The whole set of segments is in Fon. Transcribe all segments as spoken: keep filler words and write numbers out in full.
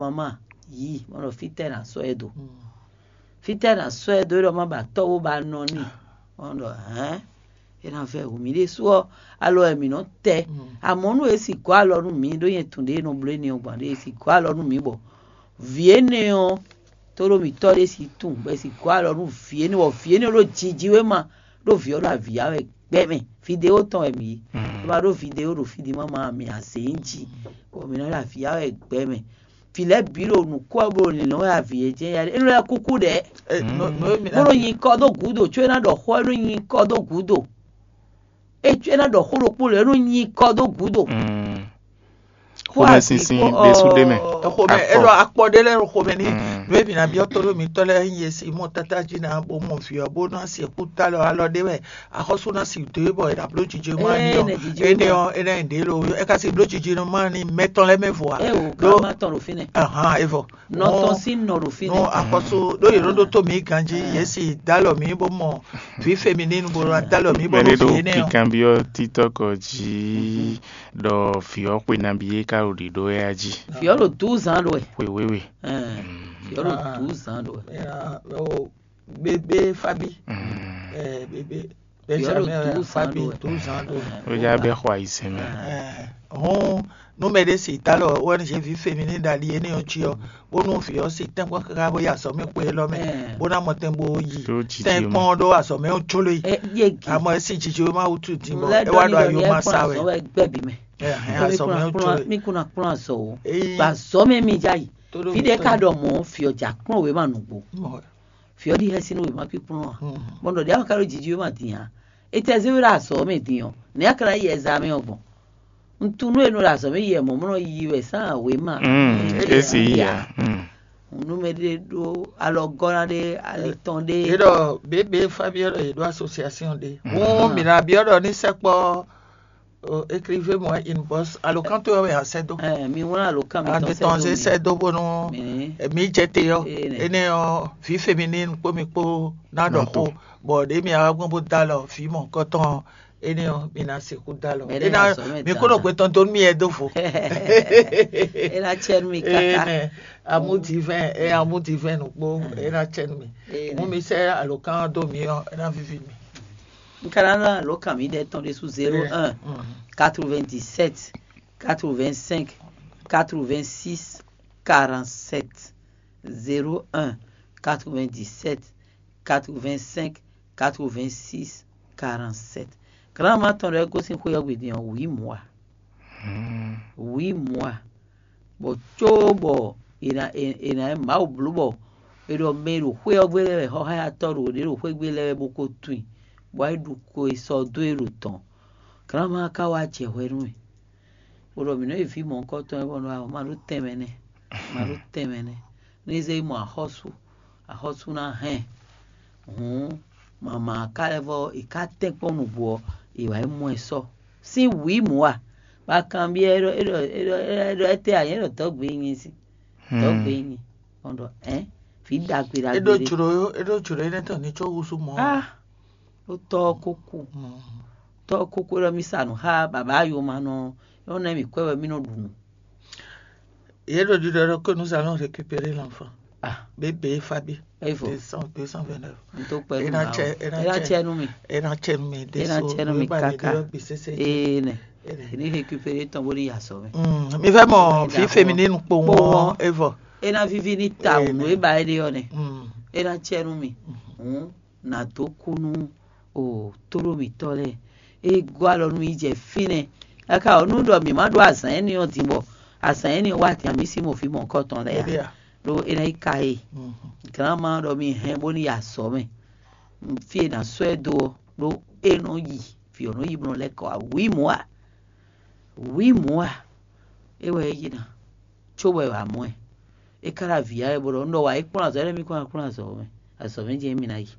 Mama, yí, mɔ ɖɔ fítɛ́ ná sɔ́ ɛ dó. Fítɛ́ ná sɔ́ ɛ dó ɖɔ má ba tɔ́ bó ba nɔ n'i. Mɔ ɖɔ hɛn, é ná vɛ wǔ mì ɖésú ɔ́, alɔ wɛ mǐ nɔ tɛ. Amɔ̌ nú è si gɔ́ alɔ nú mǐ ɖó nyɛ tun ɖě e nɔ bló énɛ́ ɔ́ gbɔn ɖě è si gɔ́ alɔ nú mǐ bɔ vǐ énɛ́ ɔ́, tóɖó mǐtɔn ɖé si tunwun bɔ è si gɔ́ alɔ nú vǐ énɛ́ bɔ vǐ énɛ́ ɖó jiji wé ma ɖó vǐ ɔ́ ɖo avǐ ya wɛ gbɛ mɛ. Vidéo tɔn wɛ mǐ yí. É ma ɖó vidéo ɖo fí di má ma mǐ a zě nyi jí bɔ mǐ nɔ ɖo avǐ ya wɛ gbɛ mɛ. Vǐ lɛ́ɛ bǐ ɖo nǔkó ɔ́ bó ɖo lǐnlɔ́n wɛ avǐ e jɛ́n ya ɖe. É nɔ lɛ́ kúkú ɖɛ̌. Bó ɖo nyi kɔ dó gǔdo có é ná ɖɔ xó é ɖo nyi kɔ dó gǔdo. É có é ná ɖɔ xó ɖokpó lɔ é nɔ nyi kɔ dó gǔdo. Xomɛsinsin ɖésú ɖé mɛ. Xomɛ é ɖɔ akpɔ ɖé lɛ́ɛ ɖo xomɛ ní nú e mǐ ná byɔ́ tóɖó mǐtɔn lɛ́ɛ nyi e si mɔ tátájí ná bó mɔ vǐ ɔ́ bó ná sixú ta lɔ alɔ ɖé wɛ axɔ́sú ná si dó é bɔ è nǎ bló jijɛ má ní ɔ́. Énɛ́ ɔ́ é ná nyi ɖě lo é ka si bló jijɛ má ní mɛtɔn lɛ́ɛ mɛ vɔ a? É wò gán má tɔn ɖo fínɛ́. Ahan é vɔ. Nɔ tɔn sín nɔ ɖo fínɛ́. Nú axɔ́sú ɖó yě nɔ ɖótó mǐ ganjí yě si dó alɔ mǐ bó mɔ vǐ feminine bó ná dó alɔ mǐ bó mɛɖé ɖó ɖó vǐ énɛ́ ɔ́. Kikanbyɔ́ títɔ́kɔ jí ɖɔ vǐ ɔ́ xwe nabí é ká ɖo ɖiɖó wɛ a jí. Vǐ ɔ́ ɖo douze ans ɖo wɛ. Xwe wéwe. Vǐ ɔ́ ɖo douze ans ɖo wɛ. Bébé Fabi. Bébé Vǐ ɔ́ ɖo Benjamin douze ans Fabi ɖo wɛ. Douze ans ɖo wɛ. Ó já bɛ́ xɔ ayizɛ́n mɛ. Hɔn nú mɛ ɖé si dó alɔ O N G vǐ feminine ɖali énɛ́ ɔ́ jí ɔ́, bónú vǐ ɔ́ si tɛ́nkpɔ́n káká bó yi azɔ̌ mɛ xwe élɔ́ mɛ, bó ná mɔ tɛn bó yi Ɖó jiji tɛ́nkpɔ́n ɔ́ ɖó azɔ̌ mɛ ɔ́ jló e. Yégi. Amɔ é sí jiji wé má wútu din bɔ é wá ɖo ayoma sa wɛ. Azɔ̌ wɛ gbɛ́ bǐ mɛ. Azɔ̌ mɛ ɔ́ jló e. Mí kún ná kplɔ́n azɔ̌ o. Gbà azɔ̌ mɛ mí já yi. Fí ɖé ka ɖɔ mɔ̌, vǐ ɔ́ jǎ kplɔ́n wěma nǔgbó. Vǐ ɔ́ ɖi xɛsi nú wěma kpíkplɔ́n ǎ. Bɔ ɖɔ ɖě a ka ɖo jiji wěma din ǎ. Etɛ́ zé we ɖo azɔ̌ mɛ din ɔ́, nɛ̌ a ka ná yi ɛzamɛ ɔ́ gbɔn? Un tunú e nɔ ɖo azɔ̌ mɛ yi wɛ mɔ̌ mɔ nɔ yi wɛ sán wěma. É sì yi ǎ. Nú mɛ ɖé ɖó alɔgɔ́ ná ɖé, ali tɔn ɖé. É ɖɔ běbě Fabíɔ́ ɖɔ yě ɖó asosiasyon ɖé. Hǔn mǐ ná byɔ́ ɖɔ ní sɛkpɔ́ écrivez moi une bosse alokán towe wɛ a sɛ́ dó. Mi wlán alokán mi tɔn sɛ́ dó mi. Sɛ́ dó bónú mi jɛ te ɔ́. Énɛ́ ɔ́, vǐ feminine kpó mi kpó ná ɖɔ xó, bɔ ɖě mi wá gbɔn bó dó alɔ vǐ mɔ̌hunkɔtɔn ɔ́, énɛ́ ɔ́, mi ná sixú dó alɔ. Mɛ É ná ná azɔ̌ mɛ mi kó ɖo dandan. Gbɛtɔn dó nú mì ɛ dó vo. É ná cɛ nú mi káká. Énɛ́, amour divin, é amour divin nukpó, é ná cɛ nú mi. Énɛ́. Mú mi sɛ́ alokán ɔ́ dó mi ɔ́, é ná víví mi. Un ka ná ná alokán mi ɖɛ tɔn ɖésú zéro un quatre-vingt-dix-sept quatre-vingt-cinq quatre-vingt-six quarante-sept. Zéro un quatre-vingt-dix-sept quatre-vingt-cinq quatre-vingt-six quarante-sept. Granma tɔn ɖɔ é gosín xwé ɔ́ gbe din ɔ́, wǐ mɔ̌ a? Wǐ mɔ̌ a? Bɔ cóbɔ è nǎ è nǎ Mawu bló bɔ è ɖɔ mɛ e ɖo xwé ɔ́ gbe lɛ́ɛ wɛ xɔxáyatɔ́ ɖo ɖě ɖo xwé gbe lɛ́ɛ wɛ bó ko tunwun, bɔ é ɖu ko e sɔ́ dó é ɖo tɔn. Granma ka wá jɛ hwɛ nú mì. Bó ɖɔ mǐ nɔ́ yi vǐ mɔ̌hunkɔtɔn wɛ bɔ nɔ ma ɖó tɛnmɛ nɛ́, ma ɖó tɛnmɛ nɛ́. Nú é zé yi mɔ axɔ́sú, axɔ́sú ná hɛn. Hǔn mama ka lɛ́ vɔ è ká tɛ́nkpɔ́n nǔgbó ɔ́, è wǎ yi mɔ ɛ sɔ́. Sín wǐ mǔ a? Ba kanbyɔ́ é ɖɔ é ɖɔ é ɖɔ é ɖɔ étɛ́ ǎ nyɛ ɖɔ tɔ́gbé nyi si. Tɔ́gbé nyi. Ɔn ɖɔ ɛ vǐ ɖagbe é ɖagbe ɖó ɖé. Jlǒ é ɖó jlǒ énɛ́ tɔn ní có húzú mɔ̌. Ah, ɖó tɔ́ ɔ́ kó kú. Tɔ́ ɔ́ kó kú ɖɔ mì sa nǔ xá baba yomanɔ ɔ́, é nɔ ná mì kwɛ́ wɛ mì nɔ ɖu nǔ. Yě ɖo ɖiɖɔ ɖɔ que nous allons récupérer l'enfant. Ah, Bébé Fabi. Evo. Deux cent, deux cent vingt-neuf. N tó kpɛ nú ma o. É ná cɛ nú mi. É ná cɛ nú mi. É ná cɛ nú mi kaka. Ee nɛ. Ní récupérer tɔn bó ní yà sɔ mɛ. Mi fẹ́ mọ̀ fí féminine kpowun ɔ́, Evo. É ná víví ní ta wǔ nú é ba é ɖe ɔ́ nɛ. É ná cɛ nú mi. Hǔn nǎ dó kú nú o tóɖó mǐtɔn lɛ́ɛ. É gɔ́ alɔ nú mì jɛ fínɛ́. Káká ɔ́, nú ɖɔ mǐ má ɖó azǎn énɛ́ ɔ́ din bɔ azǎn énɛ́ ɔ́ wá din ǎ, mǐ sí mɔ vǐ mɔ̌hunkɔtɔn lɛ́ɛ ǎ. Ɖó é ná yi ka e. Gǎnma ɖɔ mi hɛn bó ní yi azɔ̌ mɛ. Fí e è nǎ sɔ́ ɛ dó ɔ́, ɖó é nɔ yi, vǐ ɔ́ nɔ yi bó nɔ lɛ́ kɔ wá wǐ mɔ̌ a? Wǐ mɔ̌ a? É wɛ é yi ná, cóbɔ è wǎ mɔ ɛ. É ka ɖo avǐ ya wɛ bó ɖɔ un ɖɔ wǎ yi kplɔ́n azɔ̌ énɛ́ mì kó ná kplɔ́n azɔ̌ mɛ, azɔ̌ mɛ jɛ́n mì ná yi.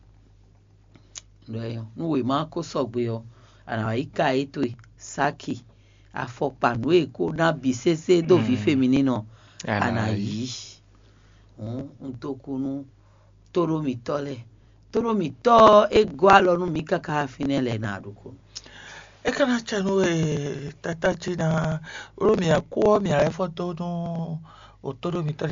Nú wěma ko sɔgbe ɔ́, a nǎ wá yi ka é towe, sáki, afɔkpa nǔ e è ko ná bǐ sésé dó vǐ féminine ɔ́, a nǎ yí. Hǔn un dó kú nú tóɖó mǐtɔn lɛ́ɛ. Tóɖó mǐtɔn ɔ́, é gɔ́ alɔ nú mǐ káká fínɛ́ lɛ́ɛ ná ɖokpó. É ka ná cɛ nú we, tata cí ná, ɖó mǐ kú ɔ́, mǐ lɛ́ fɔ dó nú tóɖó mǐtɔn